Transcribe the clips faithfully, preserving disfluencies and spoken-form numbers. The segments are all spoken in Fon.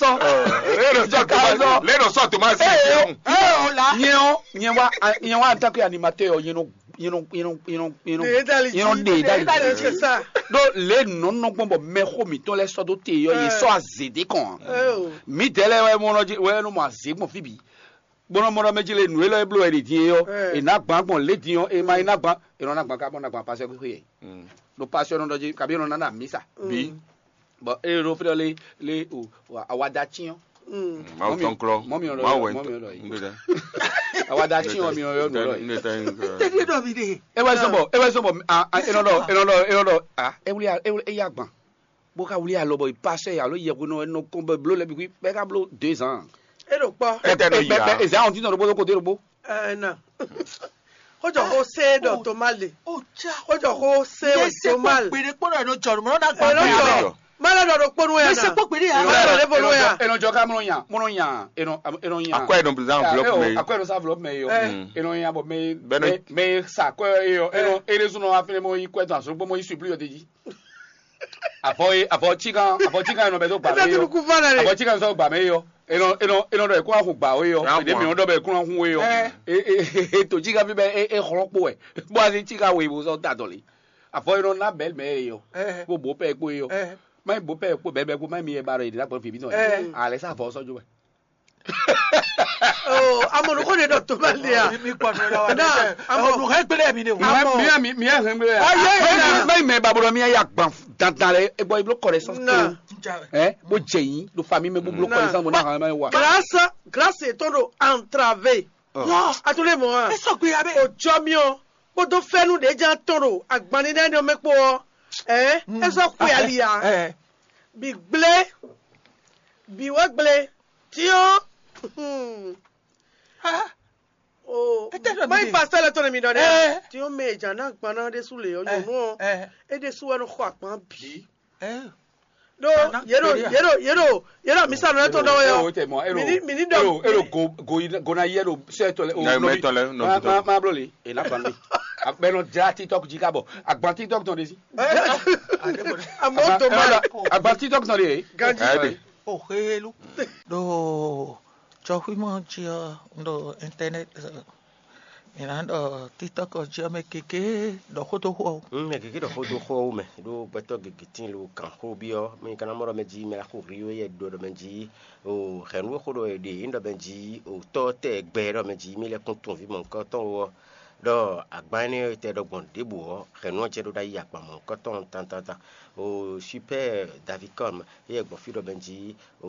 tɔn. Lè nɔ sɔ Tomasi. Lè nɔ sɔ Tomasi. Ee, ee, o la. Nyɛ ɔ, nyɛ wa, nyɛ wa en tant que animateur ɔ, nyɛ nɔ, nyɛ nɔ, nyɛ nɔ, nyɛ nɔ, nyɛ nɔ, Ɖe ɖali nyɛ nɔ jí. Ɖe ɖali jí. Ɖo lě nɔ́ nɔ gbɔn bɔ mɛxó mǐtɔn lɛ́ɛ sɔ́ dó te ɔ́, yě sɔ́ azě ɖé kɔn ǎ. Mǐdɛɛ lɛ́ɛ wɛ mɔ nɔ jí wɛ nɔ mɔ azě gbɔn fí bǐ. Bó nɔ mɔ ɖɔ mɛ jí lě nǔ élɔ́ e bló wɛ ɖě din é ɔ́, è nǎ gbǎn gbɔn lě din ɔ́, è ma yi ná gbǎn, è nɔ ná gbǎn ká bɔ ná gbǎn pasɛ́ xwé. Ɖo pasɛ́ nɔ ɖɔ jí kabi è nɔ ná ná mǐsa. Bǐ. Bɔ ée ɖo fí ɖɔ lé lé o awada cyɔn. Mawu tɔn klɔ. Mɔ mi ɔlɔ Mawu wɛ mɔ mi ɔlɔ yi. Awada cyɔn mi ɔlɔ yɔ nulɔ yi. Tɛ́lí ɖɔ mi ɖe. E wɛ sɔn bɔ e wɛ sɔn bɔ a a e nɔ ɖɔ e nɔ ɖɔ e nɔ ɖɔ a e wuli e wuli e ya gban. Bó ka wuli alɔ bɔ i pasɛ alo yɛhwe nɔ nɔ kɔn bɛ blo lɛ bi bɛ ka blo deux ans. E ɖo kpɔ. Kɛtɛ nɔ yi a. Ezan ɔn ti nɔ ɖo bó ɖo kote ɖo bó. Ɛɛ na. Xójɔ xó sé ɖɔ tó má le. Ó já. Xójɔ xó sé wɛ tó má le. Gbèdé kpɔ́dọ̀ ẹ̀ ló jọ ló mọ̀ náà gbà Ẹ ló bẹ́ẹ̀ jọ. Abẹ́. Má lọ dọ̀dọ̀ kpónú ẹ̀ Mẹsẹ̀ náà. Kpó gbèdé yà. Má lọ dọ̀dọ̀ kpónú ẹ̀. Enɔ jɔ ká mlɔ nya mlɔ nya enɔ enɔ nya. Akɔ ɛ nɔ bla enveloppe mɛ. Akɔ ɛ nɔ sa enveloppe mɛ yɔ. Enɔ nya bɔ mɛ Bɛnɛ. Mɛ sa akɔ ɛ yɔ enɔ ere zun nɔ afin mɔ yi kɔ ɛ tɔn aso gbɔ mɔ yi supli yɔ te ji. Avɔ ye avɔ cikan avɔ cikan enɔ bɛ tó gba mɛ yɔ. Avɔ cikan sɔ gba mɛ yɔ. Enɔ enɔ enɔ dɔ ekun ahun gba o yɔ. Ede mi dɔ bɛ ekun ahun o yɔ. E e e to cikan fi bɛ e e xlɔ kpo wɛ. Bɔ asi cikan wo ibo sɔ ta dɔli. Avɔ enɔ na bɛ mɛ yɔ. Ko bo pɛ kpo yɔ. Má bo pɛ kpo bɛ bɛ kpo má mi yɛ ba dɔ yi di na gbɔ fi bi tɔn. Ale sa avɔ sɔ jo wɛ. Oh, amɔ nukɔ de dɔ to bɛ lia. Mi kpɔ nɔ la wa. Na amɔ nukɔ gbele mi de. Amɔ mi mi mi hɛn gbele. Ayi ayi na. Má mi mɛ ba bolo mi ya gban dandan lɛ e gbɔ iblo connaissance. Na. Ɛ bó jɛ yín ló fa mi mɛ bó blo connaissance bó na hàn mɛ wa. Grâce grâce to do entravé. A to le mɔ a. E sɔ gbe ya bɛ. O jɔ mi o. Kpódó fɛ́nú ɖě ján tɔn ɖo agbanní nɛ́ nɔ mɛ kpó ɔ́, ɛ̌ é sɔ́ xwe ali ǎ. Bǐ gblé, bǐ wɛ gblé, tyɔ́n. Má yi fa sɛ́lɛ tɔn nɛ mi ɖɔ nɛ́. Tyɔ́n mɛ e jǎn ná gban ná ɖésú lě ɔ́, nyɔ̌nu ɔ́, é ɖésú wɛ nɔ xɔ agban bǐ. Ɖó yě ɖo yě ɖo yě ɖo yě ɖo amisa nɔ lɛ́ tɔn ɖɔ wɛ ɔ. Mini mini ɖɔ elo elo go go yi go na yi elo sɛ tɔ lɛ o Nɛ mɛ tɔ lɛ nɔ ma ma ma blo le e na fan mi. Abɛ nɔ dza TikTok ji ka bɔ agban TikTok tɔn de si. Amɔ tɔ ma Agban TikTok tɔn de. Ganji. Ɛdi. O helu. Ɖo tsɔxwímɔ jí ɔ́, un ɖo internet, mǐ ná ɖɔ TikTok ɔ́ jí ɔ́ mɛ gěgé ɖɔ xó dó xó ɔ́. Un mɛ gěgé ɖɔ xó dó xó ɔ́ wú mɛ, ɖó gbɛtɔ́ gěgé tíin lo gǎnxó byɔ́, mɛ ka ná mɔ ɖɔ mɛ jí mɛ ná xo hri ó yɛ ɖɔ ɖɔ mɛ jí o hɛ̌nnu e xó ɖɔ è ɖe é ɖɔ mɛ jí o tɔ́ tɛ gbɛ ɖɔ mɛ jí mì lɛ́ kún tunwun vǐ mɔ̌hunkɔtɔn ó ɔ́, ɖɔ agban énɛ́ e tɛ ɖɔ gbɔn ɖěbǔ ɔ́, hɛ̌nnu ɔ́ jɛ ɖó ɖ'ayǐ akpan mɔ̌hunkɔtɔn tantanta. O Super Davicom éyɛ́ gbɔn fí ɖɔ mɛ jí o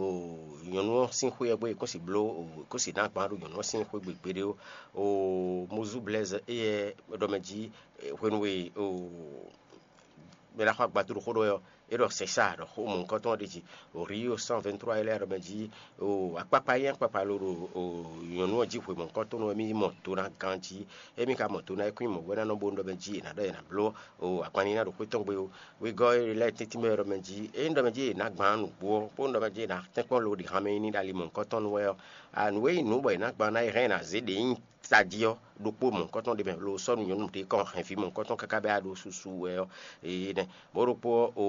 nyɔ̌nu ɔ́ sín xwé ɔ́ gbé è kó si bló o è kó si ná gbán ɖo nyɔ̌nu ɔ́ sín xwé gbe gbeɖé ó. O Mozú Blaise éyɛ́ ɖɔ mɛ jí hwenu e o mɛ ɖaxó agbato ɖo xó ɖɔ wɛ ɔ́, é ɖɔ sɛ̌ sa ɖɔ xó mɔ̌hunkɔtɔn ɔ́ ɖe jí. O Rio cent vingt-trois éyɛ́ ɖɔ mɛ jí o akpakpa nyí akpakpa lo ɖo o nyɔ̌nu ɔ́ jí hwe mɔ̌hunkɔtɔn wɛ mì mɔ do ná ganjí. Émí ka mɔ do ná é kún nyí mɔ̌ wɛ ná nɔ bónú ɖɔ mɛ jí è nǎ ɖɔ è nǎ bló o agbanní ná ɖo xwé tɔn gbe ó. Wegɔ́ e lɛ́ tɛ́ntin mɛ ɖɔ mɛ jí é ɖɔ mɛ jí è nǎ gbǎn nǔgbó ɔ́, bónú ɖɔ mɛ jí è nǎ tɛ́nkpɔ́n lo ɖi hanmɛ ní ɖo ali mɔ̌hunkɔtɔn nu wɛ ɔ́, a nǔ e nyí nǔ bɔ è nǎ gbǎn ná é hɛn è nǎ zé ɖě nyí tají ɔ́ ɖokpó mɔ̌hunkɔtɔn ɖé mɛ lo sɔ́ nú nyɔ̌nu ɖé kɔn hɛn vǐ mɔ̌hunkɔtɔn káká bɛ́ a ɖo susu wɛ ɔ́, ee nɛ́. Mɔ̌ ɖokpó ɔ́, o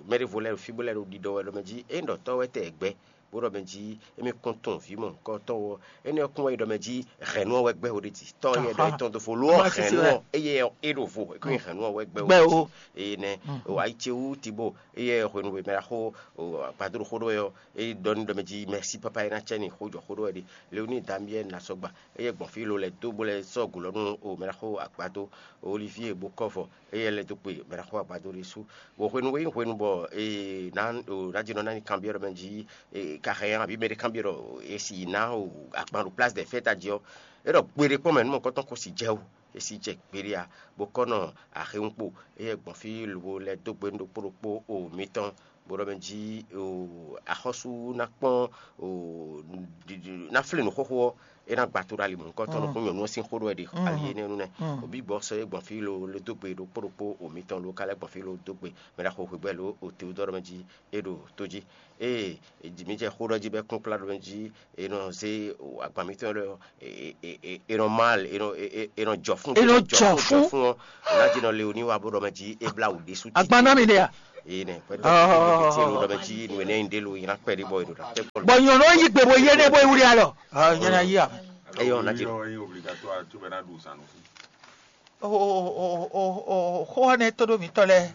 mɛ ɖěvo lɛ́ɛ ɖo fí bó lɛ́ ɖo ɖiɖɔ wɛ ɖɔ mɛ jí é ɖɔ tɔ́ wɛ tɛ gbɛ́ bó ɖɔ mɛ jí émí kún tunwun vǐ mɔ̌hunkɔtɔn ɔ́, énɛ́ ɔ́ kún wɛ yi ɖɔ mɛ jí hɛ̌nnu ɔ́ wɛ gbɛ́ wo ɖe jí. Tɔ́ yɛ ɖɔ é tɔn dó fo lo ɔ́ hɛ̌nnu ɔ́ éyɛ́ é ɖo vo é kún nyi hɛ̌nnu ɔ́ wɛ gbɛ́ wo ɖe jí. Eye nɛ́ o ayi ce wú Tibo éyɛ́ hwenu e mɛ ɖaxó o agbadó ɖo xó ɖó wɛ ɔ́, é ɖɔ n'i ɖɔ mɛ jí mɛ̌si pápá é ná cɛ n'i xó jɔ xó ɖó wɛ ɖe. Leoníi Damiyɛ́li ná sɔ́ gba éyɛ́ gbɔn fí lo lɛ́ dó bó lɛ́ sɔ́ gǔ lɔ nú o mɛ ɖaxó agbadó Olivie Bokɔ́vɔ éyɛ́ lɛ́ dó kpe mɛ ɖaxó agbadó ɖésú. Bɔ hwenu e nyí hwenu bɔ è nǎ ná jínɔ ná nyi kanbyɔ́ ɖɔ mɛ jí è ka hɛn ɔ́, abǐ mɛ ɖé kanbyɔ́ ɖɔ è si yi ná o agban ɖo Place des Fêtes jí ɔ́, é ɖɔ gbe ɖé kpɔ́n mɛ nú mɔ̌kɔ́tɔn ko si jɛ wú, è si jɛ gbeɖé ǎ, bó kɔ́ nɔ axéwúnkpo. Éyɛ́ gbɔn fí lobo lɛ́ dó gbe nú ɖokpó ɖokpó o mitɔn, bó ɖɔ mɛ jí o axɔ́sú ná kpɔ́n o ná flé nǔ xóxó ɔ́, é ná gba to ɖo ali mɔ̌hunkɔtɔn nukún nyɔ̌nu ɔ́ sín xó ɖɔ wɛ ɖe ali énɛ́ nu nɛ́. Obi gbɔ sɔ́ é gbɔn fí lo lé dó gbe ɖokpó ɖokpó o mitɔn lo ka lɛ́ gbɔn fí lo dó gbe mɛ ɖaxó hwegbɛ lo o Teodɔ́ɔ mɛ jí é ɖo tó jí. Ée mi jɛ xó ɖɔ jí bɔ é kún kplá ɖɔ mɛ jí è nɔ zé agban mitɔn lɔ è nɔ mal è nɔ è nɔ jɔ fún È nɔ jɔ fún. Jɔ fún ɔ́, ná jí nɔ le o ní wa bó ɖɔ mɛ jí é blá wǔ ɖésú. Agban ná mi ɖe a? Yé nɛ, pɛtɛ ti lo ɖɔ bɛ jí nu ne yin ɖe lo yin akpɛ ɖi bɔ yi ɖo ɖa. Bɔ nyɔnu yi gbe bo yé ne bo yi wuli alɔ. Nyɛ na yi a. Eyɔ na ti. Lo. Xó ɔ́ nɛ́ tó ɖó mǐtɔn lɛ́ɛ.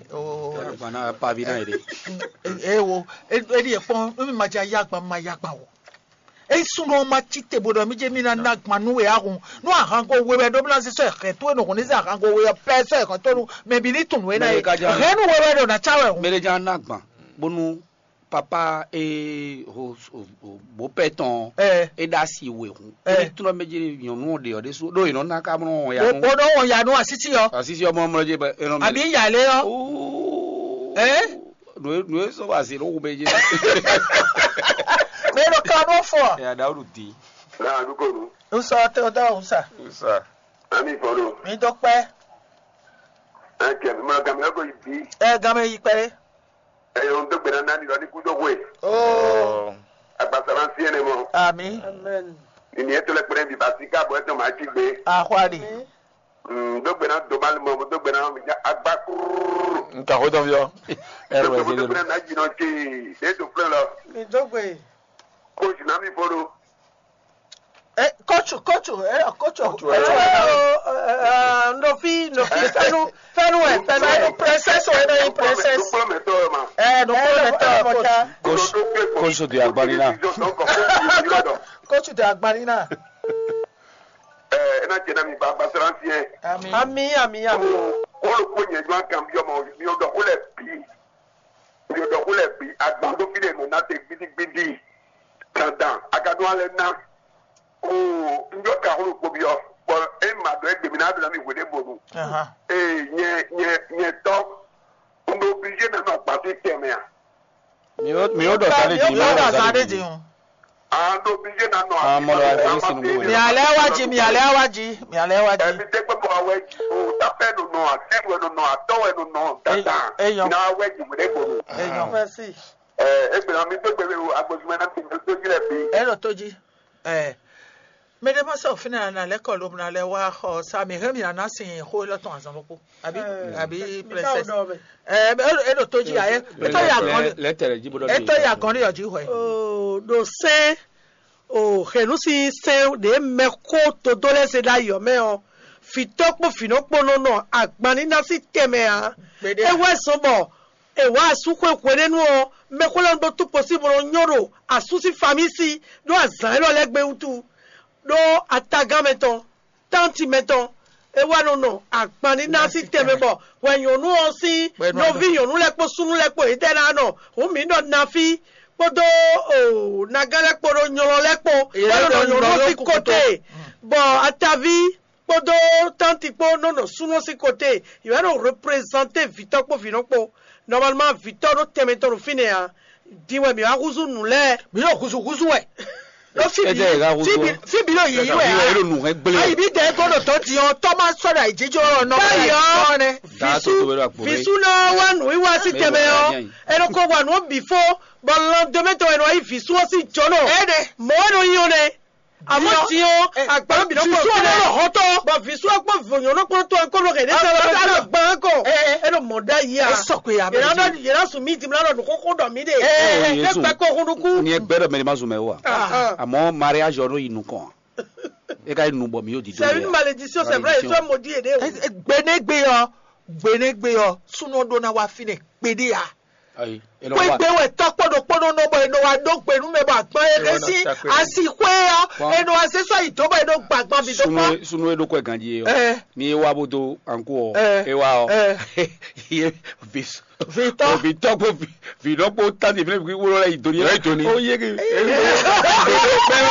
Gbana paví ná yě ɖe. Ee wo, eɖi e kpɔn nú mi ma ja yá gban ma yá gban o. Eyi súnnu ɔ́ ma cí te bó ɖɔ mí jɛ mí ná ná gban nú we ahun. Nú ahango we wɛ ɖó bó ná zé sɔ́ ɛhɛn tó e nɔ hɔn ní zé ahango we ɔ́ pɛ́ sɔ́ ɛhɛn tó nú mɛ bǐ ní tunwun é ná Mɛ e ɖé ka jɛ hɛn nú we wɛ ɖo ná cá wɛ hɔn. Mɛ ɖé jɛ ná gban bónú papa e ho bó pɛ tɔn Ɛ. E ɖo asi we hun. Ɛ. Ebi tún ɔ́ mɛ jí nyɔ̌nu ɔ́ ɖe ɔ́ ɖésú ɖó yě nɔ ná ká mlɔ wɔn ya Bó nú bó nɔ wɔn ya nú asísí ɔ́. Asísí ɔmɔ mlɔ jí bɛ enɔ mɛ. Àbí ìyàlẹ́ ɔ́. Ɛ. Nǔ e nǔ e sɔ́ wá sí ló hu mɛ jí. Mɛ ɖo ká nɔ fɔ. Ɛ aɖawɖu di. Náà dúkòrò. Nsɔ tẹ o dá o sa. Sa. Ami fɔlɔ. Mi dɔ pẹ́. Ẹ kẹ mi ma gàmí lọkọ yìí bí. Ẹ gan mɛ yi pẹ́. Ẹ yọ ń dógbe náà nání lọ ní kúdó hwe. Oo. Agbasara ń sí ẹni mọ. Àmì. Amen. Nìyẹn tó lẹ pẹrẹ bí bàtí káàbọ̀ ẹ tó máa jí gbé. Àhwárí. Dógbe náà dó bá lè mọ dógbe náà mi já agbá kúrúrú. Nka xó tán fi ɔ. Ẹ rẹ Dógbe zéle dógbe náà náà jìnnà tsi. Ní ètò fúlẹ̀ lọ. Mi dógbe. Kó o sì náà mi fọlọ. Eh, coach, coach, eh, coach, coach, eh, eh, eh, no fi, no fi, fẹnu, fẹnu, eh, fẹnu, eh, princess, eh, no, eh, princess. Dukplɔmɛtɔ ma. Eh, no, eh, no, eh, coach. Coach, coach de agbanina. Coach de agbanina. Eh, ena jẹ na mi ba basransi yɛ. Ami, ami, ami. Kolo ko nyɛ jɔ kan bi ọmọ mi ọdọ ko lẹ bi. Mi ò ɖɔ xó lɛ́ɛ bǐ, agban ɖó fí ɖé nɔ ná te gbídígbídí. Dandan, a ka ɖó alɛ ná. Oo, un ɖɔ ka xó ɖokpó byɔ́, bɔ é ma ɖɔ é gbe mi ná ɖo ná mi hwe ɖěbǔ nu. Ee, nyɛ nyɛ nyɛ tɔ́, un ɖo obligé ná nɔ agban sín tɛnmɛ a? Mi ó mi ó ɖɔ zá ɖé din, mi ó ɖɔ zá ɖé din. A ɖo obligé ná nɔ agban sín tɛnmɛ. Mi alɛ wá jí, mi alɛ wá jí, mi alɛ wá jí. Ɛmi tɛ kpɛ bɔ awɛ jí o, tapɛ nɔ nɔ, atɛ wɛ nɔ nɔ, atɔ wɛ nɔ nɔ, dandan. Eyɔn. Na awɛ jí wɛ ɖe gbɔn. Eyɔn. Merci. Ɛ, egbe na mi to gbe o, agbosumɛ na ti to ji lɛ bi. Ɛ ɖo tó jí. Ɛ, mɛ ɖé ma sɔ fínɛ na lɛ kɔ lo na lɛ wá xɔ sa mi hɛn mi na na sin xó lɔ tɔn azɔn lɔkpó. Àbí àbí princess. Ɛ, ɛ ɖo tó jí ayé. Etɔ ya gɔn. Lɛ tɛlɛ jí bó dɔ. Etɔ ya gɔn ní yɔ jí hwɛ. Ɖo sɛn. O hɛ̌nnu sín sɛ́n ɖě mɛxó dodó lɛ́ɛ zé ɖó ayǐ ɔ́ mɛ ɔ́, vǐtɔ́ kpó vǐnɔ kpó nɔ nɔ agban ní ná sín tɛnmɛ ǎ. É wɛ zɔn bɔ è wǎ asú xwe hwenɛ́nu ɔ́, mɛxó lɛ́ɛ nɔ ɖó túkpo sín bo nɔ nyɔ́ ɖo asú sín famísi ɖó azǎn élɔ́ lɛ́ɛ gbe wútu, ɖó atagán mɛtɔn, tánti mɛtɔn, é wá nɔ nɔ agban ní ná sín tɛnmɛ bɔ hwɛ nyɔ̌nu ɔ́ sín nɔví nyɔ̌nu lɛ́ɛ kpó súnnu lɛ́ɛ kpó yětɛ́ ná nɔ hǔn mǐ ɖɔ nafí kpódó nagán lɛ́ɛ kpó ɖó nylɔ lɛ́ɛ kpó bó nɔ nɔ nyɔ̌nu ɔ́ sín kote, bɔ ataví kpódó tánti kpó nɔ nɔ súnnu ɔ́ sín kote, yě wá nɔ reprezanté vǐtɔ́ kpó vǐnɔ kpó. Nɔmalma vǐtɔ́ ɖó tɛnmɛ tɔn ɖo fínɛ́ ǎ. Din wɛ mǐ wá húzú nǔ lɛ́ɛ. Mǐ ɖo húzúhúzú wɛ. Ɖó fí bǐ fí bǐ ɖo yǐyí wɛ ǎ. Ayi bí dɛ gɔ́ ɖo tɔ́ din ɔ́, tɔ́ ma sɔ́ ɖo ayǐjínjɔ́n ɔ́ nɔ báyìí ɔ́, vǐsú vǐsú ná wá nǔwiwa sí tɛnmɛ ɔ́, è nɔ ko wa nǔ ɔ́ bǐ fó, bɔ landɔmɛtɔn è nɔ wá yí vǐsú ɔ́ sín jǒnɔ. Mɔ̌ wɛ nɔ nyí ɔ́ nɛ́. Àmọ́ din ɔ́, àgbà bǐ nɔ kpɔ́n fínɛ́ lɔ hɔ́ntɔn. Bɔ vǐsú ɔ́ kpó vǒnyɔ́nɔ kpɔ́n tɔn kó ɖo hɛ̌ ɖé sɛ́ lɔ bɛ ɖo gbán kɔ. É ɖo mɔ̌ ɖ'ayǐ a. Yě ná ɖɔ yě ná sun mí dimla ɖɔ nǔxóxó ɖɔ mí ɖe. Ɛ gbɛ kó hun nukún. Ni ẹ gbẹ ɖɔ mɛ ni ma zun mɛ o wa. Àmọ́ mariage ɔ́ nɔ yi nukɔn. É ka yi nu bɔ mi yóò di dó. C'est une malédiction, c'est vrai, ils sont maudits et des. Gbenégbé ɔ, gbenégbé ɔ, súnú ɖó ná wá fínɛ kpéɖé a. Ayi. Kpégbé wɛ tɔ́ kpɔ́ ɖokpó nɔ nɔ bɔ è nɔ wá ɖó gbe nú mɛ bɔ agban e ɖe sí asi xwé ɔ́, è nɔ wá zé sɔ́ yi dó bɔ è nɔ gba agban bǐ dó kpɔ́. Sunu e ɖo kɔ ganji e ɔ, ni e wa bo do anko ɔ, e wa ɔ, ye visu vitɔ vitɔ ko vi vitɔ ko tan di fɛnɛ wolo la yi doni. Yi doni. O ye ke. Bɛɛ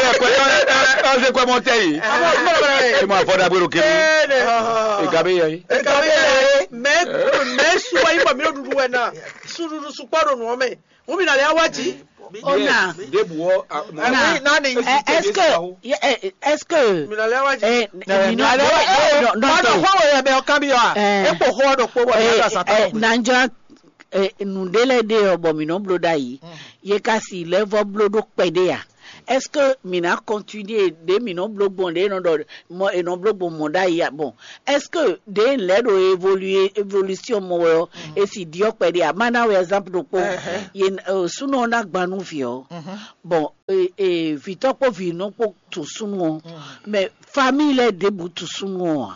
bɛ kɔjɔ ɛ ɛ ɛ kɔjɔ mɔ tɛ yi. E ma fɔ dagbe ɖo kiri. E ga be yɛ yi. E ga be yɛ yi. Mɛ mɛ suwa yi bɔ mi ɖo ɖuɖu wɛ na. Suɖuɖu sukpɔ ɖo nǔ ɔ́ mɛ. Ŋu mi na lɛ awa jí. Ona. Debu wɔ. Ona. Nani. Est-ce que, est-ce que, mi na lɛ awa jí. Eh, mi na lɛ awa jí. Kɔnɔ xɔ wɛ yɛ bɛ ɔkan bi yɔ a. E kpo xɔ ɖo kpo bɔ mi na sa ta. Nanjɔ, nǔɖé lɛ ɖe ɔ bɔ mi nɔ blo ɖ'ayǐ. Ye ka si lɛ vɔ blo ɖo kpɛɖé a. Est-ce que mǐ ná continuer ɖě mǐ nɔ bló gbɔn ɖě è nɔ ɖɔ mɔ è nɔ bló gbɔn mɔ ɖ'ayǐ a? Bon, est-ce que ɖě lɛ̌ ɖo évoluer, évolution mɔ wɛ ɔ́, e sì ɖyɔ́ kpɛɖé a? Má ná wɛ exemple ɖokpó. Yě súnɔ ɔ́ ná gban nú vǐ ɔ́. Bon, vǐtɔ́ kpó vǐnɔ kpó tunwun súnnu ɔ́, mɛ famille lɛ́ɛ ɖěbǔ tunwun súnnu ɔ́ ǎ.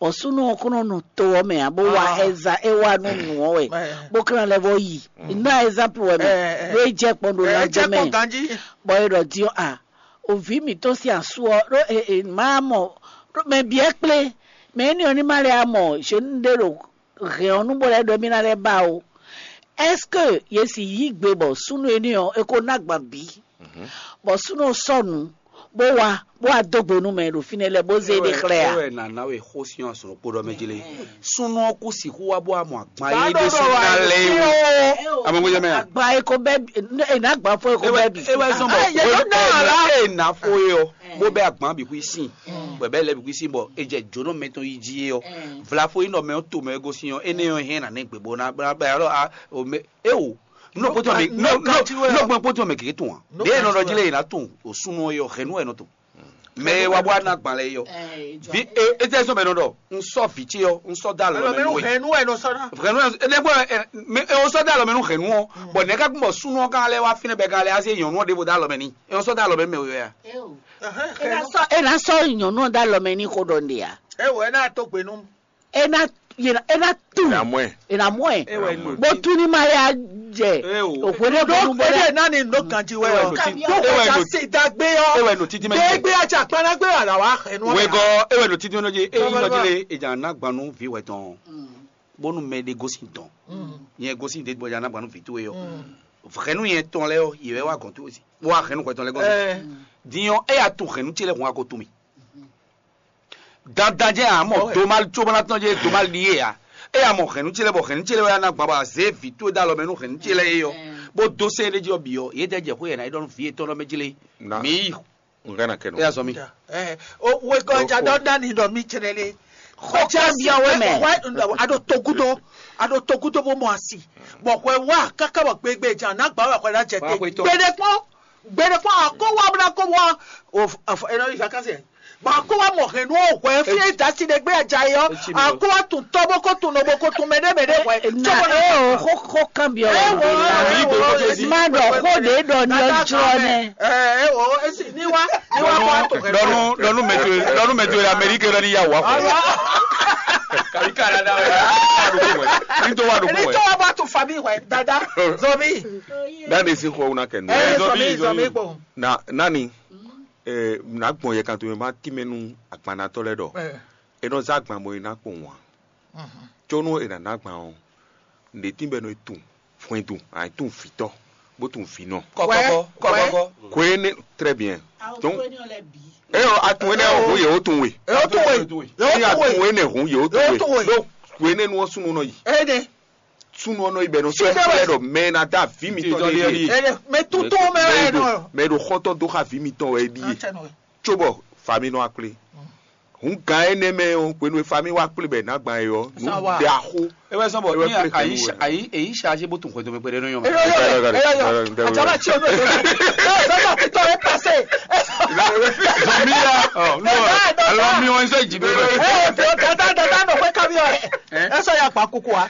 Bɔ súnnu ɔ́ kún nɔ nɔ to ɔ́ mɛ ǎ, bó wa ɛza é wa nú nǔ ɔ́ wɛ, bó kún ná lɛ́ vɔ yi. Ná exemple wɛ mɛ, ɖó é jɛ kpɔn ɖo lánjɛ mɛ, bɔ é ɖɔ din ɔ́ a, o vǐ mǐtɔn sín asú ɔ́ ɖó e e má mɔ ɖó mɛ bǐ ɛ kplé, mɛ énɛ́ ɔ́ ní má lɛ́ mɔ zěnu ɖé ɖo hɛn ɔ́ nú bó lɛ́ ɖɔ émí ná lɛ́ ba ó. Est-ce que yě sì yí gbe bɔ súnnu énɛ́ ɔ́ é ko ná gban bǐ? Bɔ súnnu ɔ́ sɔ́ nǔ bó wá bó wá dó gbe nú mɛ e ɖo fínɛ́ lɛ́ɛ bó zé ɖe xlɛ́ ǎ. Ewɛ nǎ ná we xó sín azɔ̌ kpó ɖɔ mɛ jí lé. Súnnu ɔ́ kú sixú wá bó wá mɔ agban e ɖésú ná lɛ́ é wú. Amɔgbéjɛ mɛ a? Agban e ko bɛ́ bǐ, è nǎ gban fɔ e ko bɛ́ bǐ. É wɛ zɔn bɔ é nǎ fo é ɔ, bó bɛ́ agban bǐ xwí sín, bɔ bɛ́ lɛ́ bǐ xwí sín bɔ è jɛ jǒnɔ mɛ tɔn yi jí é ɔ. Vlafo yi nɔ mɛ ɔ́ to mɛ e gosín ɔ́, énɛ́ ɔ́ hɛn nǎ nɛ gbě bó ná bɛ́ alɔ a o mɛ é o. Nɔ kpótó mɛ nɔ nɔ nɔ kpótó mɛ kékeré tún wa. Ɖé nɔ ɖɔ jí lé yìí ná tún o súnú ɔ́ yɔ hɛnú ɛ nɔ tún. Mɛ e wa bó a ná gban lɛ yɔ. Vi e e tɛ sɔn bɛ nɔ ɖɔ n sɔ vǐ ce ɔ n sɔ dá lɔ mɛ nú we. Hɛnú ɛ nɔ sɔ ná. Hɛnú ɛ ne bɔ ɛ mɛ e o sɔ dá lɔ mɛ nú hɛnú ɔ bɔn nɛ ká gbɔn súnú ɔ kan lɛ wa fínɛ bɛ kan lɛ azé nyɔnu ɔ ɖěvo dá lɔ mɛ ní e o sɔ dá lɔ mɛ mɛ we ya. E ná sɔ e ná sɔ nyɔnu ɔ dá lɔ mɛ ní xó ɖɔ nɖe ya. E wɔ ɛ ná to gbe nú. E ná e ná e ná tu. E ná mɔ ɛ. E ná mɔ ɛ. E wɛ nɔ. Bó tún ní ma ya jɛ. Òpó ní bó ní bó ní. Eye náà ni nɔ ganji wɛ ɔ. Tó kò ká sí dagbe ɔ. E wɛ nɔ títí mɛ. Degbe ajá kpanagbe wà làwọn ahẹnu. Wegɔ e wɛ nɔ títí mɛ jɛ e yi nɔ jile e jà ná gbanu vi wɛ tɔn. Bónú mɛ ɖe gosin tɔn. Nyɛ gosin de gbɔdza ná gbanu vi towe ɔ. Hɛnu yẹn tɔn lɛ ɔ yɛ wɛ wa gɔn towe si. Wa hɛnu kɔtɔn lɛ gɔn. Dinyɔ e ya to hɛnu ce lɛ hun ako to mi. Dandan jẹ́ àmọ́ domal tsobanatɔn jẹ́ domal ɖíe ǎ. É ya mɔ hɛ̌nnu ce lɛ́ɛ bɔ hɛ̌nnu ce lɛ́ɛ wɛ ná gbǎn bɔ azě vǐ towe dó alɔ mɛ nú hɛ̌nnu ce lɛ́ɛ é ɔ́, bó dó sɛ́n éɖée jí ɔ́ bǐ ɔ́, yě dɛ jɛ xwé yě ná yi ɖɔ nú vǐ yétɔn ɔ́ mɛ jlé. Mǐ yi. Nǔ ká ná kɛ nɔ. É yá zɔ mì. Wegɔ́ ja ɖɔ ɖ'ani ɖɔ mì cɛnɛ lé. Xɔ cyɔ byɔ́ we mɛ. A ɖo togudo, a ɖo togudo bó mɔ asi, bɔ hwɛ wá káká bɔ gbegbe jan ná gbǎ wɛ hwɛ ná jɛ te. Gbeɖe kpɔn, gbeɖe kpɔn akó wá bó ná kó wá. O, ɛnɔ yi vacances. Bɔ a kó wá mɔ hɛn nú hwɛ fí e dasi ɖe gbé ajayi ɔ, a kó wá tun tɔ bó kó tun nɔ bó kó tun mɛ ɖé mɛ ɖé hwɛ. Na e o xó xó kan byɔ wɛ. Má ɖɔ xó ɖě ɖɔ ní ɔ́ jlɔ́ nɛ. Ɛ o esi ní wá ní wá kó wá to hɛn. Ɖɔnu ɖɔnu mɛtò ɖɔnu mɛtò yɛ Amérique ɖɔ ní yà wá xó. Kàbí Canada wɛ. Ní tó wà lóko wɛ. Ní tó wà bá tún famille wɛ dada zɔmi. Dáadé sí xɔ wúna kɛ nù. Ɛ zɔmi zɔmi kpɔn. Na nani. Ná gbɔn yɛ kan to mɛ má tínmɛ nú agbannatɔ́ lɛ́ɛ ɖɔ é nɔ zán agban bɔ é ná kpowun ǎ. Có nú è nǎ ná agban ɔ́, nǔɖé tín bɔ é nɔ yi tunwun hwɛndo, a nǎ yi tunwun vǐtɔ́, bó tunwun vǐnɔ. Kɔkɔkɔ kɔkɔkɔ. Hwenu énɛ́ très bien. Donc é ɔ́, a tunwun énɛ́ ɔ́, hǔn yě ó tunwun we. Yě ó tunwun we. Yě ó tunwun we. Énɛ́ hǔn yě ó tunwun we. Yě ó tunwun we. Donc hwenu énɛ́ ɔ́ súnnu nɔ yi. Énɛ́. Súnnu ɔ́ nɔ yi bɔ é nɔ sɔ́ xlɛ́ ɖɔ mɛ e ná dó avǐ mitɔn ɖe ɖíe. Mɛ e ɖo xɔ́ntɔn dó xá avǐ mitɔn wɛ é ɖíe. Cóbɔ fami nɔ wá kplé. Hǔn gǎn énɛ́ mɛ ɔ́, hwenu e fami wá kplé bɔ è nǎ gban é ɔ́, nǔ ɖe axó. É wɛ zɔ́n bɔ ní ayi ayi ṣáájú bó tún xwedó mi pé ɖé nú yɔn. Eyɔ yɔ eyɔ yɔ àjàmà tí o ní òjò náà. Eyɔ sọ́jà títọ́ ẹ pàṣẹ. Zɔmi ya, alo mi wọn sọ ìjì bẹ́ẹ̀. Ẹ ẹ fi ọ̀gá dáadáa náà pé kábíyọ̀ ẹ. Ẹ sọ ya pa kúkú wa.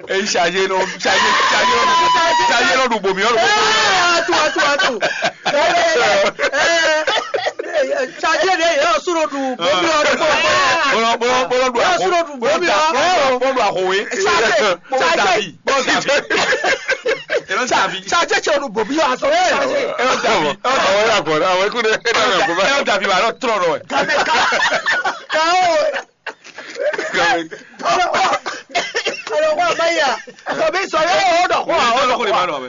Èyí ṣàyè lọ ṣàyè ṣàyè lọ ṣàyè lọ dùgbò mi ọ̀rọ̀. Ẹ ẹ tu ẹ tu ẹ tu. Ṣàyè lè yẹ ọ̀ṣun lọ dùgbò mi ọ̀rọ̀. Bọ́lá bọ́lá bọ́lá dùn àkó. Bọ́lá dùn àkó wé. Ṣàyè ṣàyè. Bọ́lá dàbí. Ṣàjẹ́ ṣe olùbòmí yọ aṣọ ṣàjẹ́. Àwọn yà kọ̀ àwọn ikú dẹ ẹ náà kó bá. Ẹ dàbí wà lọ tọrọ rọ ẹ. Kàmẹ ká ká o. Kàmẹ. Ọlọ́wọ́ ọlọ́wọ́ àbáyà sọ̀bí sọ̀rọ̀ ẹ̀ ọ̀dọ̀ kọ́ àwọn ọ̀dọ̀ kọ́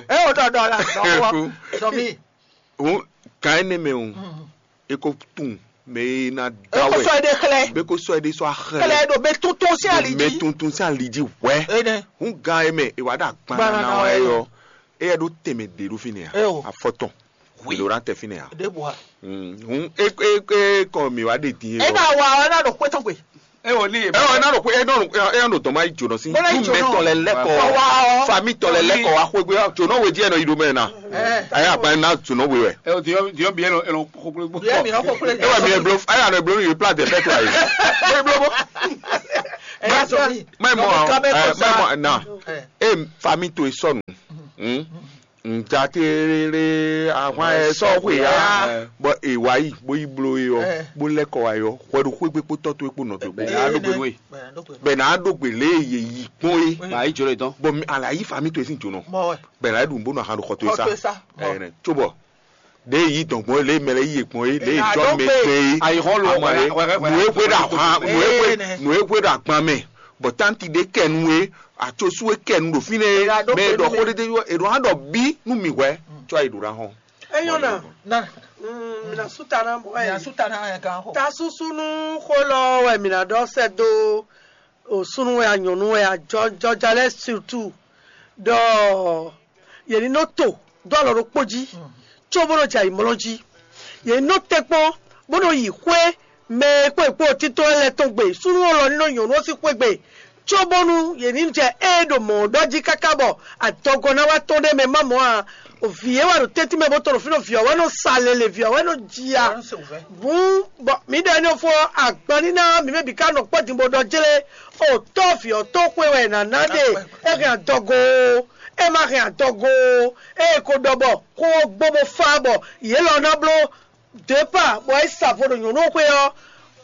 ẹ̀ ọ̀dọ̀ ọ̀dọ̀ la sọ̀bí. Òun kàn ẹ́ ní mẹ́ o, e ko tún mɛ e na da wɛ. E ko sɔ ede xlɛ. Be ko sɔ ede sɔ axlɛ. Xlɛ ɖo be tuntun sí ali jí. Mɛ tuntun sí ali jí wɛ. Ene. Hun gan e mɛ e wa ɖo agban na wa yɔ. Eyɛ ɖo tɛmɛ de ɖo fi nɛ ya. Eo. Afɔtɔn. Wi. Lo ɖa tɛ fi nɛ ya. De bua. Hun e e e kɔ mi wa de din. E na wa e na ɖo kpɛtɔ gbe. E o ni. Ɛ ɔ, ena ɖo xwe ena ɖo ena ɖo dɔn ma yi jǒnɔ sí. Bó ná yi jǒnɔ. Mɛ tɔn lɛ lɛkɔ. Kɔ wá ɔ. Fami tɔn lɛ lɛkɔ wá xwegbe jǒnɔ we jí ɛnɔ yi ɖo mɛ na. Ɛ. Ɛ agba na jǒnɔ we wɛ. Ɛ o diɔ diɔ bi ɛnɔ ɛnɔ koklo gbɔ. Yɛ mi hɔn koklo. E wa mi e blo aya nɔ e blo mi yi plan de fɛ to ayi. E blo bo. Ɛ yà sọ mi. Mɛ mɔ ɛ mɛ mɔ na. Ɛ. E fami to e sɔnu. Nja tlélé ahwan ɛ sɔ́ xwe ya, bɔ è wá yi bó yi bló é ɔ́, bó lɛ́ kɔ wá yi ɔ́, hwɛ ɖo xwé gbe kpó tɔ́ towe kpó nɔ towe kpó. Bɛ nǎ ɖó gbe nú we. Bɛ nǎ ɖó gbe lě e yě yi kpɔ́n é. Bɛ ayí jɔ lɛ dɔn. Bɔ mi ala yí fa mi to e sín jǒnɔ. Bɛ nǎ ɖu bó nɔ ahan ɖo xɔ towe sá. Ɛnɛ tso bɔ ɖě yí dɔn gbɔn é, lě e mɛ lɛ yí yě kpɔ́n é, lě e jɔ mɛ gbɛ é. Ayihɔn lo. Amɔ é, nǔ e hwe ɖo ahwan, nǔ e hwe nǔ e hwe ɖo agban mɛ, bɔ tánti ɖé kɛ nú é, atsosu e kɛ nú ɖo fínɛ́ é, mɛ e ɖɔ xó ɖédé ɔ́, è ɖo hán ɖɔ bí nú mǐ hwɛ̌, có ayi ɖǒ ná hɔn. Enyɔ́ ná. Na. Mm, mina sutana bɔ mina ɛ sutana ɛ kan xɔ. Ta susu nú xó lɔ wɛ mina ɖɔ sɛ dó o súnú wɛ a nyɔ̌nu wɛ a jɔjɔjalɛ surtout ɖɔ yě ní nɔ to dó alɔ ɖokpó jí, có bó nɔ jɛ ayǐmlɔ́ jí. Yě ní nɔ tɛ́nkpɔ́n bó nɔ yi xwé mɛ e kpó è kpó títɔ́ lɛ́ɛ tɔn gbe, súnnu ɔ́ lɔ ní nɔ nyɔ̌nu ɔ́ sín xwé gbe, cóbónú yě ní jɛ ée ɖo mɔ̌ ɔ́ ɖɔ jí káká bɔ adɔgɔ́ ná wá tɔ́n ɖ'é mɛ má mɔ̌ ǎ. Vǐ e wɛ ɖo tɛ́ntin mɛ bó tɔn ɖo fí nɔ vǐ ɔ́ wɛ nɔ sa lele, vǐ ɔ́ wɛ nɔ ji a. Hǔn bɔ mǐ ɖɔ énɛ́ ɔ́ fó ɔ́, agban ní ná mǐ mɛ bǐ ká nɔ kpɔ́ din bó ɖɔ jlé. O tɔ́ vǐ ɔ́ tó xwe wɛ è nǎ ná ɖe. É hɛn adɔgo ó, é ma hɛn adɔgo ó, é ko ɖɔ bɔ xó ɔ́ gbɔn bó fá bɔ yě lɔ ná bló départ bɔ é sa vo ɖo nyɔ̌nu xwé ɔ́,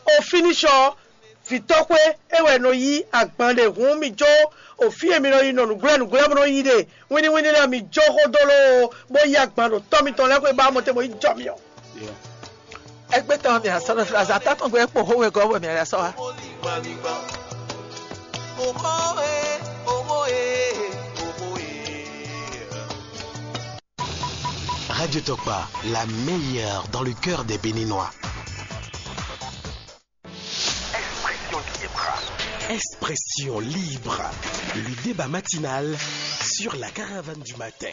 o fínísɔ vǐtɔ́xwé é wɛ nɔ yí agban ɖe hǔn mi jó o fí e mi nɔ yi nɔ nǔgblɛ́ nǔgblɛ́ bó nɔ yí ɖe wínníwínní lɛ́ɛ mi jó xó dó lóo bó yí agban ɖo tɔ́ mitɔn lɛ́ɛ xwé bá mɔ te bó yi jɔ mi ɔ́. Ẹgbẹ́ tán mi àsọ̀rọ̀ fìlà zàtà tó ń gbé pò hówe gọ́ wẹ̀ mi àyà sọ wa. Radio Tokpa, la meilleure dans le cœur des Béninois. Expression libre. Expression libre. Le débat matinal sur la caravane du matin.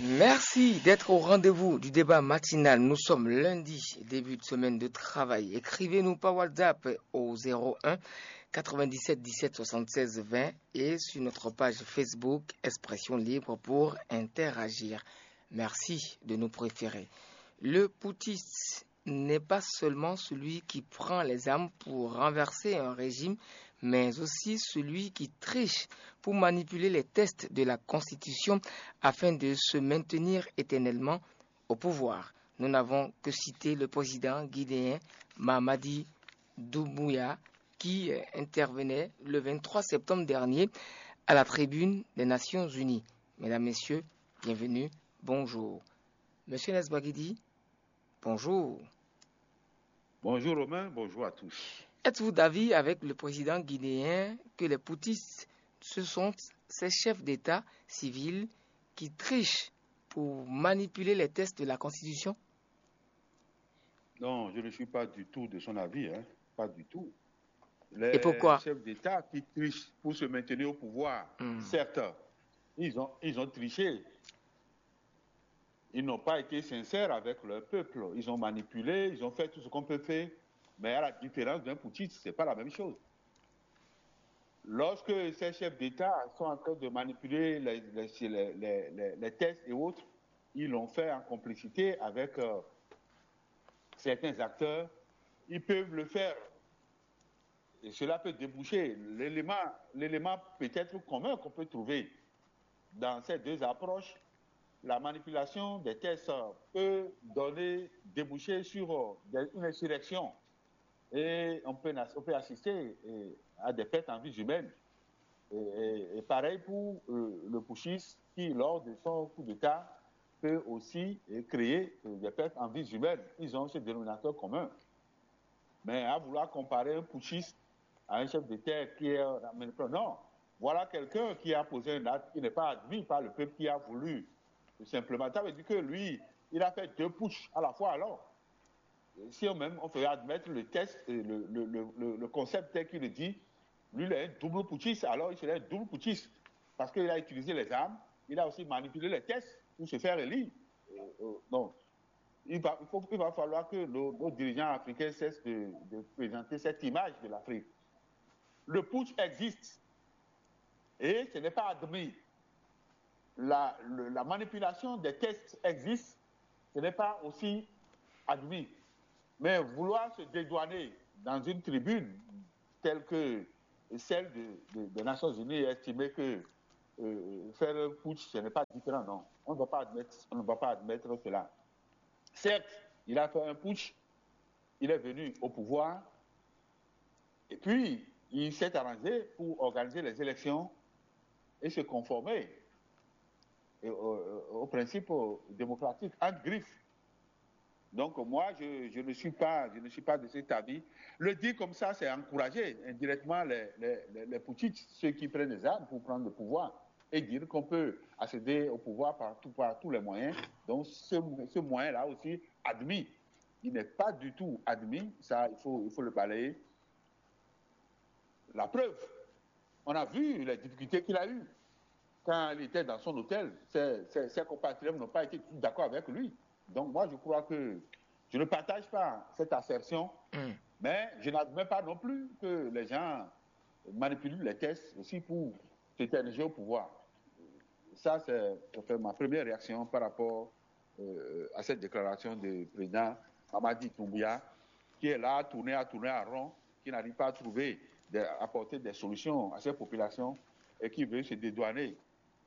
Merci d'être au rendez-vous du débat matinal. Nous sommes lundi, début de semaine de travail. Écrivez-nous par WhatsApp au zéro un quatre-vingt-dix-sept dix-sept soixante-seize vingt et sur notre page Facebook Expression libre pour interagir. Merci de nous préférer. Le putschiste n'est pas seulement celui qui prend les armes pour renverser un régime, mais aussi celui qui triche pour manipuler les textes de la Constitution afin de se maintenir éternellement au pouvoir. Nous n'avons que cité le président guinéen Mamadi Doumbouya, qui euh, intervenait le vingt-trois septembre dernier à la tribune des Nations Unies. Mesdames, Messieurs, bienvenue, bonjour. Monsieur Nesbagidi, bonjour. Bonjour Romain, bonjour à tous. Êtes-vous d'avis avec le président guinéen que les putschistes, ce sont ces chefs d'État civils qui trichent pour manipuler les textes de la Constitution? Non, je ne suis pas du tout de son avis, hein, pas du tout. Et pourquoi? Les chefs d'État qui trichent pour se maintenir au pouvoir, hmm, certains, ils ont, ils ont triché. Ils n'ont pas été sincères avec leur peuple. Ils ont manipulé, ils ont fait tout ce qu'on peut faire. Mais à la différence d'un putschiste, ce n'est pas la même chose. Lorsque ces chefs d'État sont en train de manipuler les, les, les, les, les textes et autres, ils l'ont fait en complicité avec euh, certains acteurs. Ils peuvent le faire. Et cela peut déboucher. L'élément, l'élément peut-être commun qu'on peut trouver dans ces deux approches, la manipulation des textes peut donner, déboucher sur euh, des- une insurrection. Et on peut, on peut assister euh, à des pertes en vies humaines. Et, et- et pareil pour euh, le putschiste qui, lors de son coup d'État, peut aussi euh, créer euh, des pertes en vies humaines. Ils ont ce dénominateur commun. Mais à vouloir comparer un putschiste à un chef d'État qui est... Non, voilà quelqu'un qui a posé un acte qui n'est pas admis par le peuple qui a voulu, tout simplement. Ça veut dire que lui, il a fait deux putschs à la fois alors. Si on même, on fait admettre le texte, le, le, le, le concept tel qu'il le dit, lui, il est un double putschiste, alors il serait un double putschiste. Parce qu'il a utilisé les armes, il a aussi manipulé les textes pour se faire élire. Euh, euh, donc, il va, il, faut, il va falloir que nos, nos dirigeants africains cessent de, de présenter cette image de l'Afrique. Le putsch existe et ce n'est pas admis. La, le- la manipulation des tests existe, ce n'est pas aussi admis. Mais vouloir se dédouaner dans une tribune telle que celle de- de- des Nations Unies et estimer que euh, faire un putsch, ce n'est pas différent, non. On ne va pas admettre, on ne va pas admettre cela. Certes, il a fait un putsch, il est venu au pouvoir, et puis il s'est arrangé pour organiser les élections et se conformer et au, au principe démocratique, entre griffes. Donc moi, je, je ne suis pas, je ne suis pas de cet avis. Le dire comme ça, c'est encourager indirectement les, les, les, les putschistes, ceux qui prennent des armes pour prendre le pouvoir, et dire qu'on peut accéder au pouvoir par, tout- par tous les moyens. Donc ce, ce moyen-là aussi admis. Il n'est pas du tout admis, ça, il faut, il faut le balayer. La preuve, on a vu les difficultés qu'il a eues quand il était dans son hôtel. Ses, ses- ses compatriotes n'ont pas été d'accord avec lui. Donc moi, je crois que je ne partage pas cette assertion, mais je n'admets pas non plus que les gens manipulent les tests aussi pour s'éterniser au pouvoir. Ça, c'est enfin, ma première réaction par rapport euh, à cette déclaration du président Mamadi Doumbouya, qui est là à tourner, à tourner en rond, qui n'arrive pas à trouver, à apporter des solutions à ces populations et qui veut se dédouaner,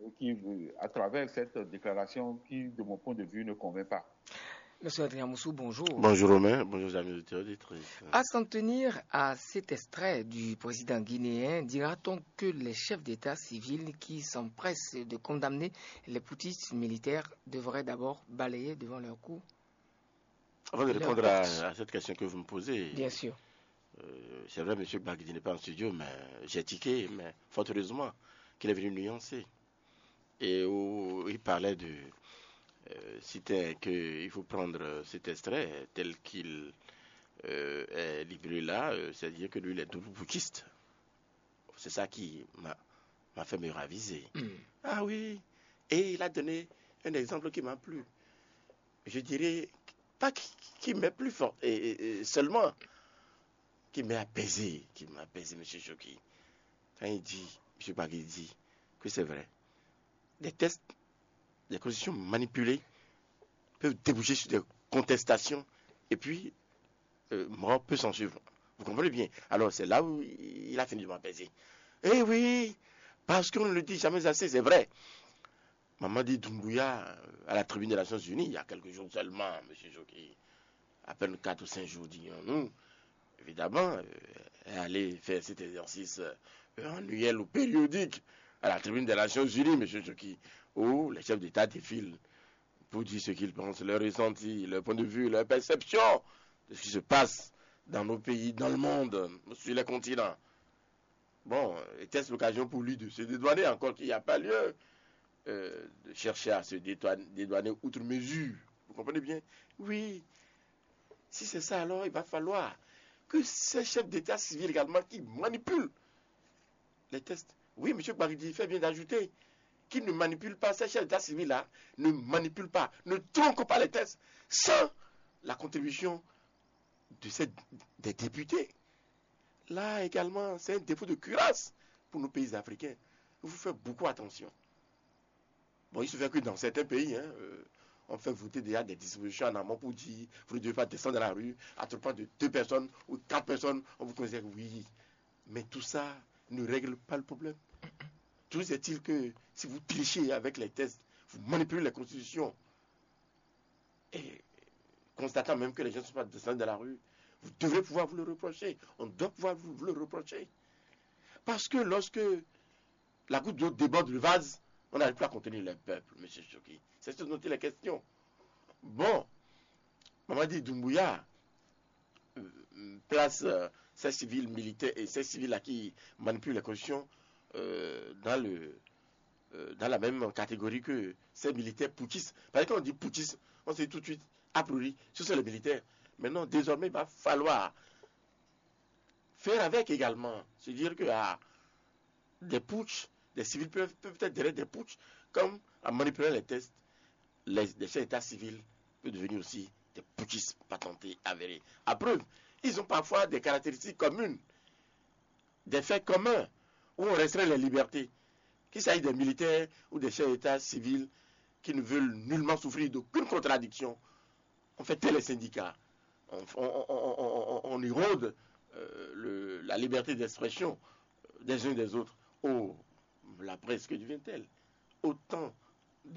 et qui, veut, à travers cette déclaration qui, de mon point de vue, ne convainc pas. Monsieur Adrien Moussou, bonjour. Bonjour Romain, bonjour amis auditeurs et auditrices. À s'en tenir à cet extrait du président guinéen, dira-t-on que les chefs d'État civils qui s'empressent de condamner les putschistes militaires devraient d'abord balayer devant leur cou? Avant de répondre à, à cette question que vous me posez, Bien sûr. euh, c'est vrai, M. Gbagidi n'est pas en studio, mais j'ai tiqué, mais fort heureusement qu'il est venu nuancer. Et où il parlait de. Euh, c'était qu'il faut prendre euh, cet extrait tel qu'il euh, est livré là, euh, c'est-à-dire que lui, il est double putschiste. C'est ça qui m'a m'a fait me raviser. Ah oui. Et il a donné un exemple qui m'a plu. Je dirais pas qui, qui m'est plus fort, et, et- et seulement qui m'a apaisé, qui m'a apaisé, M. Choki. Quand il dit, M. Gbagidi dit que c'est vrai. Des tests, des constitutions manipulées peuvent déboucher sur des contestations et puis euh, mort peut s'en suivre. Vous comprenez bien? Alors c'est là où il a fini de m'apaiser. Eh oui, parce qu'on ne le dit jamais assez, c'est vrai. Mamadi Doumbouya, euh, à la tribune des Nations Unies, il y a quelques jours seulement, M. Choki, à peine quatre ou cinq jours, disons-nous, évidemment, euh, est allé faire cet exercice euh, annuel ou périodique à la tribune des Nations Unies, M. Choki, où les chefs d'État défilent pour dire ce qu'ils pensent, leur ressenti, leur point de vue, leur perception de ce qui se passe dans nos pays, dans le monde, sur les continents. Bon, était-ce l'occasion pour lui de se dédouaner, encore qu'il n'y a pas lieu euh, de chercher à se dédouaner, dédouaner outre mesure? Vous comprenez bien? Oui. Si c'est ça, alors il va falloir que ces chefs d'État civils également qui manipulent les tests. Oui, M. Gbagidi fait bien d'ajouter qu'ils ne manipulent pas, ces chefs d'État civils-là ne manipulent pas, ne tronquent pas les tests sans la contribution de ces, des députés. Là également, c'est un défaut de cuirasse pour nos pays africains. Il faut faire beaucoup attention. Bon, il se fait que dans certains pays, hein, euh, on fait voter déjà des dispositions en amont pour dire vous ne devez pas descendre dans la rue à trois points de deux personnes ou quatre personnes, on vous considère, oui. Mais tout ça ne règle pas le problème. Toujours est-il que si vous trichez avec les tests, vous manipulez les constitutions, et constatant même que les gens ne sont pas descendus dans la rue, vous devrez pouvoir vous le reprocher. On doit pouvoir vous, vous le reprocher. Parce que lorsque la goutte d'eau déborde le vase, on n'arrive plus à contenir les peuples, M. Choki. C'est ce dont il est question. Bon, Mamadi Doumbouya euh, place euh, ces civils militaires et ces civils-là qui manipulent les constitutions euh, dans, le, euh, dans la même catégorie que ces militaires putschistes. Parce que quand on dit putschiste, on se dit tout de suite, a priori, ce sont les militaires. Maintenant, désormais, il va falloir faire avec également. Se dire que ah, des putschs, des civils peuvent, peuvent être derrière des putschs, comme en manipulant les tests, les, des chefs d'État civils peuvent devenir aussi des putschistes patentés, avérés. À preuve, ils ont parfois des caractéristiques communes. des faits communs où on restreint les libertés, qu'il s'agisse des militaires ou des chefs d'État civils qui ne veulent nullement souffrir d'aucune contradiction. On fait taire les syndicats, on, on- on- on- on- on érode euh, le- la liberté d'expression des uns et des autres. Oh, la presse, que devient-elle? Autant